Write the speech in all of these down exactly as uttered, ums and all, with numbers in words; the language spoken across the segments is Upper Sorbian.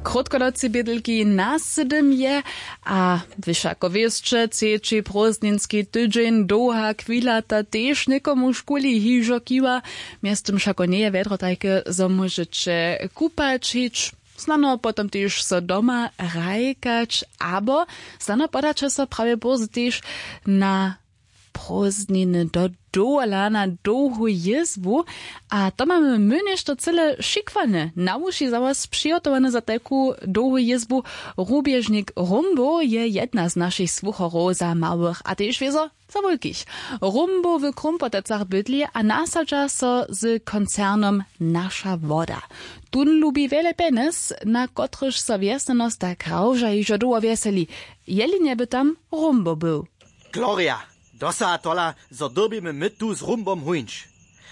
Krótkonocy bědlki na sydym je. A wy wšako wěsće, třeći prózdninski tydźeń dołha chwila ta tež někomuž kuli hižo kiwa. Mjeztym wšako njeje wjedro tajke, zo móžeće kupać hić, snano potom tež so doma hrajkać, abo snano podaće so prawje bórze tež na prózdniny do dowola na dołhu jězbu. A to mamy my něšto cyle šikwane na wuši za was přihotowane za tajku dołhu jězbu. Rubježnik rumbow je jedna z našich słucharow za małych a tež wězo za wulkich. Rumbow w krumpotecach bydli a nasadźa so z koncernom naša woda. Tón lubi wjele pjenjez, na kotrychž so wjesnjanosta krawža hižo dołho wjeseli, jeli njeby tam rumbow był. Gloria, dosaha tola, zo dyrbimy my tu z rumbom huńć.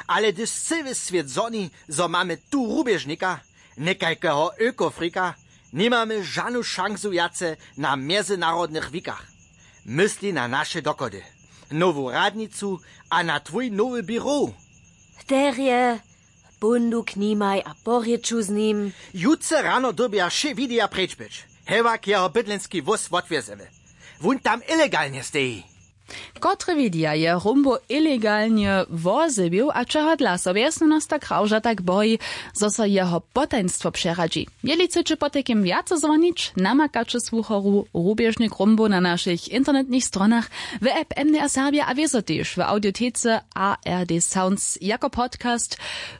Ale hdyž cyły swět zhoni, zo mamy tu rubježnika, někajkeho ökofrika, nimamy žanu šansu wjace na mjezynarodnych wikach. Mysli na naše dochody, nowu radnicu a na twój nowy běrow. Terje, bundu k nimaj a porěču z nim. Jutře rano dyrbja wšě widija preč być. Hewak jeho bydlenski wós wotwjezemy. Wón tam ilegalnje steji. Kotre widija je rumbow ilegalnje wozebił a čehodla so wjesnjanosta krawža tak boji, zo so jeho potajnstwo přeradźi? Jeli chceće potajkim wjace zwonić, namakaće słucharu rubježnik rumbow na našich internetnych stronach, w app mdr serbja a wězo tež w audiotece ard sounds jako podcast.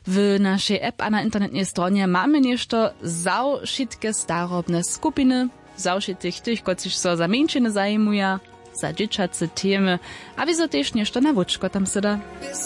W našej app a na internetnej stronje mamy něšto za wšitke starobne skupiny, za wšitkich tych, kotřiž so za mjeńšiny zajimuja, za dźěćace temy, a wězo tež něšto na wóčko tam syda.